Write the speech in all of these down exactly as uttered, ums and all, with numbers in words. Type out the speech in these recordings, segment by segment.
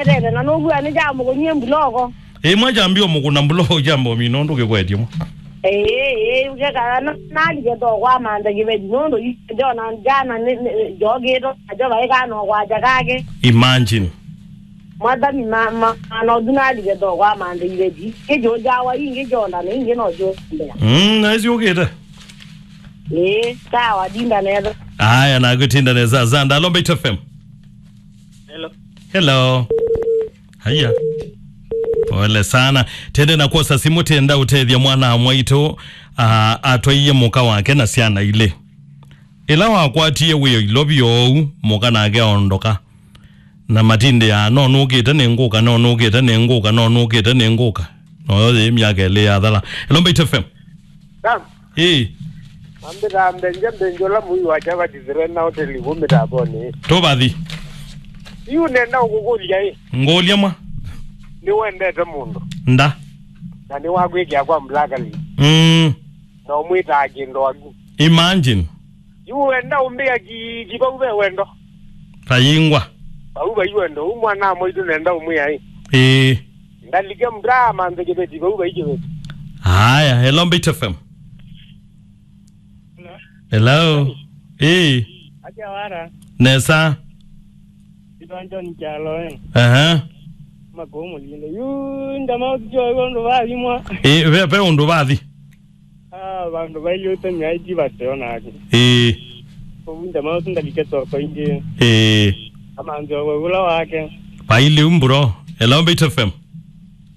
Tete na nũvua nĩ kya mũkũnie mbuloko. Ĩmwe kyambia ũmũkũna mbuloko kyamba ũmina ũndũ kĩkwetye mwa. Ĩĩ, ĩĩ, ũkekala na nalike thoko amanthe kĩveti nũndũ ĩndĩ ona jana nĩ- nĩ- njokĩtwe najo vaikana ũkwakya kake. Imagine. Mwathani ma- ma- mana ũthu nalike thoko amanthe iveti. Kĩjũjawa ingĩ kyondana ingĩ no kyũmbea. Mm, na ĩsyũkĩte. Ĩĩ, sawa, dinda nesa. Aya, nakwĩtinda nesa. Zanda, Alo Mbaitu F M. Hello. Hello. Haya. Pole sana. Tende na kwosa simu tenda ũtethya mwana mwaitũ, ah, atwaie mũka wake na syana ilĩ. Ĩla wakwatie wĩo ilovi oou, mũka nake aondoka. Na matindĩ ya, "No nũkĩte nĩ ngũka, no nũkĩte nĩ ngũka, no nũkĩte nĩ ngũka." Noyo yĩ myaka ĩlĩ yathela. Hello, Mbaitu F M. Sam. Ĩĩ. Ambĩtaa mbenje mbenje ũla mũi wa chapati zirena hoteli kũ mĩtambonĩ. Tũvathi. Yu nenda ũkũkũlya ĩ. Ngũlya mwa. Nĩwendete mũndũ. Nda. Na nĩwakwĩkĩa kwa mblakali. Mm. Na ũmwĩtaa kĩndũ waku. Imagine. Yu wenda ũmbĩa ki, ki vau ve wendo. Vayingwa. Vau vai wendo. Ũ mwana mwaitũ nenda ũmwĩa ĩ. Ĩĩ. Ndalike mtaa manthe kĩveti vau vai kĩveti. Haya, Hello Mbaitu F M. Hello. Ĩĩ. Acha wara. Nesa. Ito John Kyalo, eh. Aha. Makũmũlinde. Yu ndama ũtio ũndũ vathimwa. Ĩĩ, ve, ve ũndũ vathi. Ah, vandũ vailĩte myaiti vateonake. Ĩĩ. Ũvunda mausu ndalike soko ingĩ. Ĩĩ. Amanzi owe ũla wake. Vailĩu mburo. Hello Mbaitu F M.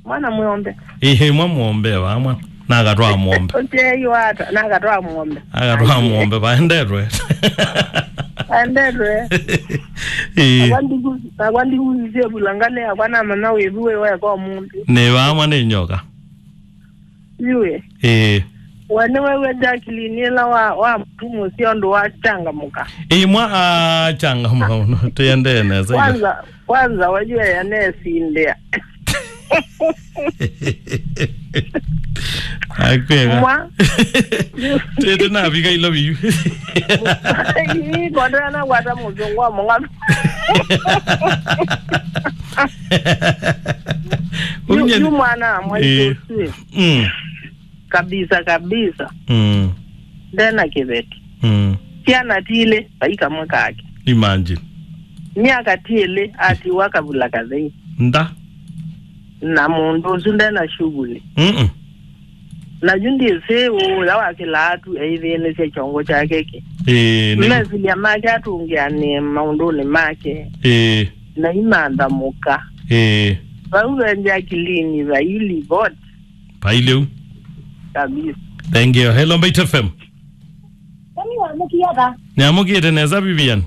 Mwana mwĩombe. Ĩĩ, mwa mwombe vamwe. Nakatwaa mwombe. Ũtei wata, nakatwaa mwombe. Akatwaa mwombe, vaendetwe. Vaendetwe. Ĩĩ. Nakwa ndiku- nakwa ndikusisie vulangale yakwa namanya wĩvu wĩ weka ũmũnthĩ. Nĩ vamwe nĩ nyoka. Yue. Ĩĩ. We nĩwew'a Jacqueline ĩla wa, wa mũtumũ ũseo ũndũ wachangamũka? Ĩĩ, mwa achangamũka mũno. Tũendee nesa. Kwanza, kwanza wajua yanesindĩa. Akwega. Mwa. Tete navika ilo biu. Ii, kondana kwata mũzungu wa mũng'amu. Yu, yu mwana mwaitũ ũsu. Mm. Kabisa, kabisa. Mm. Ndena kĩveti. Mm. Syana tilĩ, vai kamwe kake. Imagine. Myaka tilĩ, atiwa kavula kathei. Nda. Na mũndũ ũsu ndena shughuli. Mm-mm. Na yu ndĩsĩ ũya wakĩlaa tu eithĩnĩsya kyongo kyake kĩ. Ĩĩ, nĩ- Mesilya make atũngĩanĩe maũndũnĩ make. Ĩĩ. Na imantha mũka. Ĩĩ. Vau venja kilini vaili voti. Vailĩu. Kabisa. Thank you. Hello, Mbaitu F M. Kwani wamũkie ata? Nĩamũkĩte nesa, Vivian.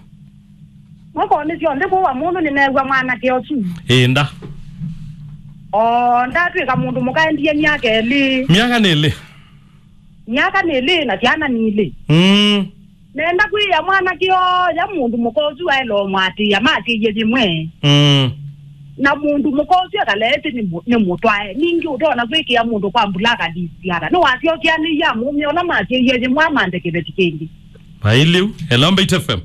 Makonĩ syonthe kũwa mũndũ nĩneew'a mwanake ũsu. Ĩĩ, nda. O, ndatwĩka mũndũ mũka endie myaka ĩlĩ. Myaka nĩ ĩlĩ? Myaka nĩ ĩlĩ na syana nĩ ilĩ. Mm. Nenda kwĩĩa mwanake oya mũndũ mũka ũsu aĩle ũmũatĩĩa masyaie yĩmwe. Mm. Na mũndũ mũka ũsu ekala eti nĩ mũ- nĩ mũtwae. Ningĩ ũtonya kwĩkĩa mũndũ kwa blacklist ata. Nĩwasyokeanĩie amũmya ũla masyaie yĩmwe amanthe kĩveti kĩngĩ. Vailĩu. Hello, Mbaitu F M.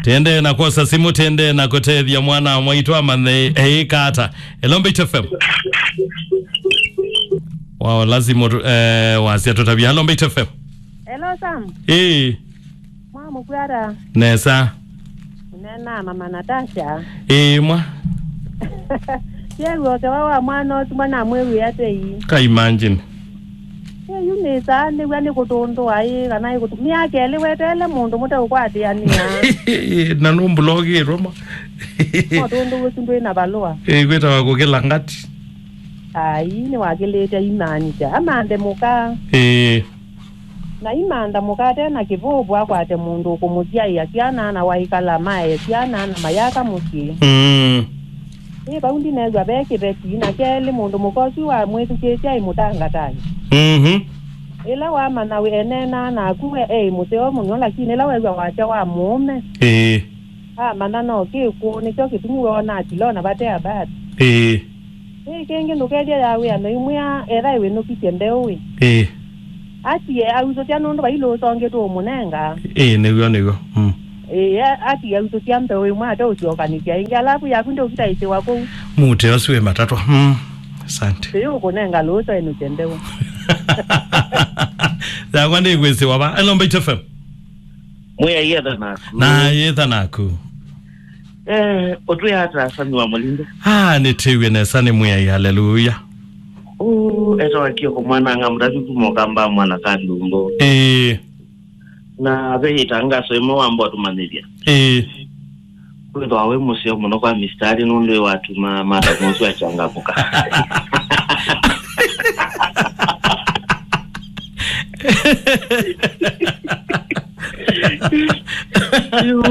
Tende na kwosa simu, tende na kũtethya mwana mwaitũ amanthe eĩka ata. Hello, Mbaitu F M. Wao, lazima tu- eh, wasya tũtavya. Hello, Mbaitu F M. Hello, Sam. Ĩĩ. Mwa mũkwata. Nesa. Nena mama Natasha. Ĩĩ, mwa. Yew'o ũkewa wa mwana ũsu mwana amwĩw'ĩa tei. Ka imagine. Ĩĩ, yu nĩsaa nĩw'a nĩkũtũndũa ĩ, kana ĩkũtũ- myaka ĩlĩ weteele mũndũ mũteũkwatĩanĩa. Na nũmbulogĩtwe ma. No tũndũ ũsu ndwĩ na valũa. Ĩĩ, kwĩtawa kũkĩla ngati. Ai, nĩwakĩlĩte imaanisha. Amanthe mũka. Ĩĩ. Na imantha mũka ate na kĩvũvũ akwate mũndũ ũkũmũsyaĩa syana na waĩkala maee syana na mayaka mũsyĩ. Mm. Ĩ vau ndinew'a ve kĩveti, na kelĩ mũndũ mũka ũsu wamwĩthukĩĩsya aĩ mũtangatanĩ. Mhm. Ĩla wamanya wĩ eneenaa naku we eĩ mũseo mũno, lakini ĩla wew'a wasya wa mũũme, Ĩĩ. Amanya no kĩkw'ũ, nĩkyo kĩtumi woona atilona vate abati. Ĩĩ. Ĩ kĩngĩ ndũkethya ya wĩano imwe a- etha ĩwĩnũkisye mbeũ ĩ. Ĩĩ. Atie ausũsya nũndũ vai lũsongi tũũmũnenga. Ĩĩ, nĩw'o, nĩw'o. Mm. Ĩĩ, atiga ũtũtia mbeũ ĩmwe ate ũsyokanĩsya ĩngĩ, alafu yaku ndĩũkita ĩsĩwa kũu. Mũtĩ ũsu wĩ matatwa. Mm. Asante. Tũyĩ ũkũnenga lũũso ĩnũkye mbeũ. Yakwa ndĩkwĩsĩwa va. Hello, Mbaitu F M. Mwĩai etha naku. Na yetha naku. Eh, ũtwĩ ata Sami wa Mũlinde? Ah, nĩtĩw'e nesa nĩ Mwĩai, haleluya. Uu, etawa Kioko mwana ng'amũtatu kuma Ũkamba mwana ka Ndumbo. Ĩĩ. Na ve ĩtangaso ĩmwe wamba ũtũmanyĩthya. Ĩĩ. Wĩthwa wĩ mũseo mũno kwa mistari nũndũ watuma madam ũsu achangamũka. Yu,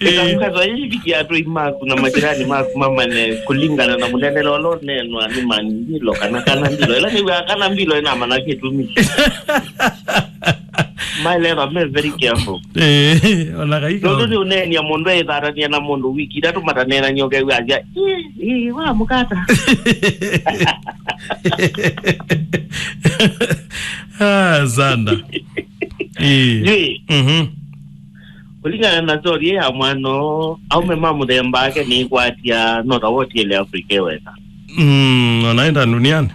ĩtangaso ĩivikia atũi maku na majirani maku mamanye kũlingana na mũnenele ũla ũneenwa nĩ Mandilo kana kana Mbilo. Ĩla nĩw'aa kana Mbilo ĩnamanya kĩtumi. My leather, I'm very careful. Eh, ona kaika. Nũndũ nĩ ũneenia mũndũ ethatania na mũndũ wiki itatu mataneenania ũkew'a asya, "Ĩ, ĩ, wa mũkata." Ah, Sanda. Eh. Yui. Mhm. Kũlingana na story ya mwana ũũ, aume ma mũthemba ake nĩikwatya nota wotiele Africa weka. Mm, anaenda duniani.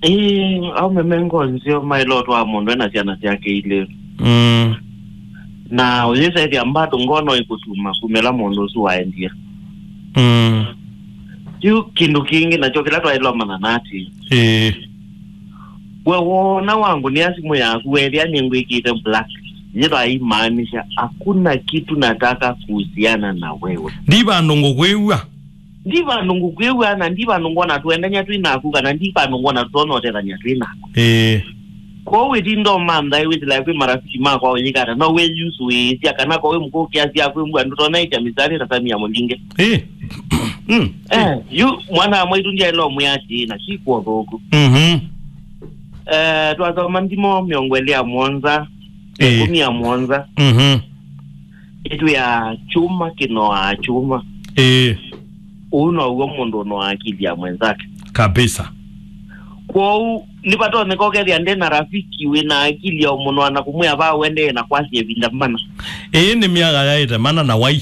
Ĩĩ, aume me ngoo nzeo maĩlotwaa mũndũ ena syana syake ilĩ. Mm. Na ũyĩsethya mbatu ngono ĩkũtuma kumĩla mũndũ ũsu waendie. Mm. Yu kĩndũ kĩngĩ nakyo kĩla twaĩlomana nati. Ĩĩ. We wona wangũnĩa simũ yaku wethĩa nĩngwĩkĩte black, yĩtha imaanisha hakuna kitu nataka kuhusiana na wewe. Ndi vandũ ngũkwĩw'a. Ndi vandũ ngũkwĩw'a na ndi vandũ ngwona tũendany'a twĩ naku kana ndi vandũ ngwona tũtonya ũtethany'a twĩ naku. Ĩĩ. Kwoou ĩtinda ũmanthae wĩthĩlae kwĩ marafiki makwa ũyĩkata no wĩyusu wĩĩsya kana ko wĩ mũkũũ kĩasi ya kwĩmbua ndũtonya ĩkya mistari ta Sami ya Mũlinge. Ĩĩ. Mm. Eh, yu mwana wa mwaitũ ndyaĩla ũmwĩa atĩĩ na si kw'o thũku. Mhm. Eh, twasoma nthimo mĩongo ĩlĩ ya mũonza, ĩĩ, ĩkũmi ya mũonza. Mhm. Ĩtwĩaa kyũma kĩnoaa kyũma. Ĩĩ. Ũu now'o mũndũ ũnoaa akili ya mwenzake. Kabisa. Kwoou nĩvatonyeka ũkethĩa nde na rafiki wĩ na akili ya ũmũnoa na kũmwĩa vaa ũendee na kwasya ĩvinda mana. Ĩĩ nĩ myaka yaĩte mana na wai.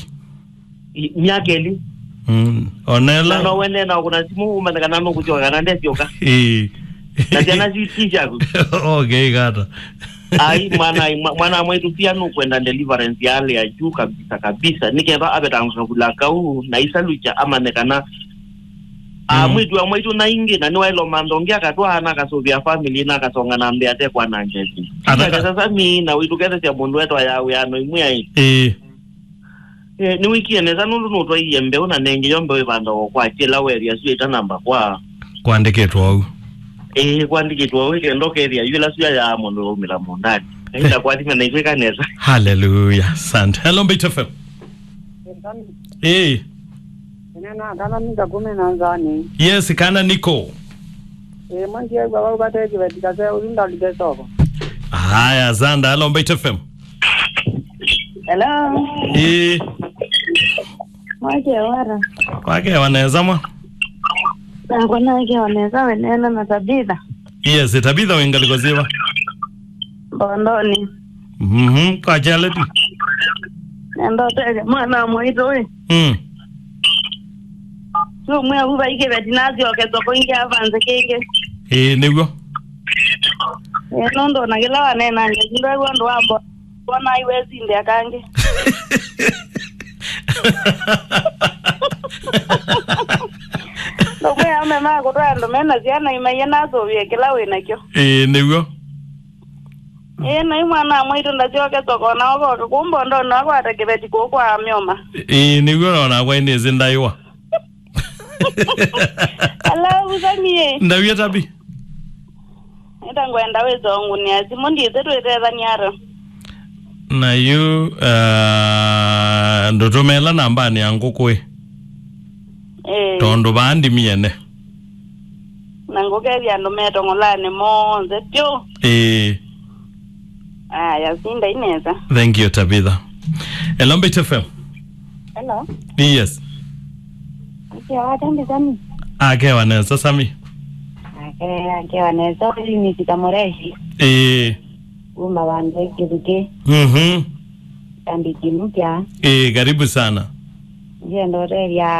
I- myaka ĩlĩ. Mm. Onela. Na no wende na kuna simu umane kana no kuchoka kana ndesyoka. Eh. Na syana si ti syaku. Okay, gata. Ai mwana ai mwa- mwana mwetu pia no kwenda deliverance ya hali ya juu kabisa kabisa. Nikeva avetanga kavula kau na isalucha amane kana a mwitu wa mwitu na ingi na niwailo mandongia katwa na kasuvia family na kasonga na mbea te kwa na njezi. Ataka- Sasa mi na witu kete sia mundu wetu ya wiano imwe ai. Eh. Eh, nĩwĩkie nesa nũndũ nũtwaie mbeũ na nengĩ yo mbeũ ĩvandagwo kwa kyĩla weethĩa syũa itanamba kwa. Kwandĩkĩtwe ũu. Ĩĩ, kwandĩkĩtwe ũu ĩkenda ũkethĩa yu ĩla syũa yaa mũndũ waumĩla mũũndanĩ. Ngai ndakwathime na itwĩka nesa. Haleluya. Asante. Hello, Mbaitu F M. Ĩĩ. Ĩnena kana minga kumi na nzani. Yes, kana niko. Ĩĩ, mwangiegwa vau vate kĩveti kase ũyu ndalike soko. Haya, Zanda. Hello, Mbaitu F M. Hello. Ĩĩ. Mwake wara. Wakewa nesa mwa? Nakwa nakewa nesa wenena na Tabitha. Yes, Tabitha wĩ ngalĩko syĩva? Mbondoni. Mhm, kwa chale tu. Nenda ũtethya mwana mwaitũ ĩ. Mm. Sio mwe avu vaike veti nasyoke soko ingi avanze kĩngĩ. Ĩĩ, nĩw'o. Ĩĩ, nũndũ ona kĩla wanenange, ndwaiwa ũndũ wa mbo-, mbona iwesindĩa kangĩ. Ndũkwĩa ame makũtwaa andũ mena syana imaiye nasũvie kĩla wĩ nakyo. Ĩĩ, nĩw'o. Ĩĩ, nai mwana mwaitũ ndasyoke soko, na ovoke kũu mbondoni akwate kĩveti kũu kwa amyoma. Ĩĩ, nĩw'o nona kwa inĩsĩ ndaiwa. Ala, ũthanie. Ndawie Tabi. Nĩta ngwenda wĩsongũnĩa simũ, ndĩsĩ twĩtethania ata. Na yu, uh, ndũtũmela nambanĩ ya ngũkũ ĩ. Ĩĩ. Tondũ vaa ndimiene. Na ngũkethya andũ metong'olanĩ monthe vyũ. Ĩĩ. Aya, sindai nesa. Thank you, Tabitha. Hello, Mbaitu F M. Hello. Yes. Akewa ata ndi Sami? Akewa nesa, Sami. Ake-, akewa nesa, ũyu nĩ Sita Mũreshi. Ĩĩ. Kuma vandũ Kĩthukĩ. Mhm. Shabiki mpya. Ĩĩ, karibu sana. Ndienda ũtethya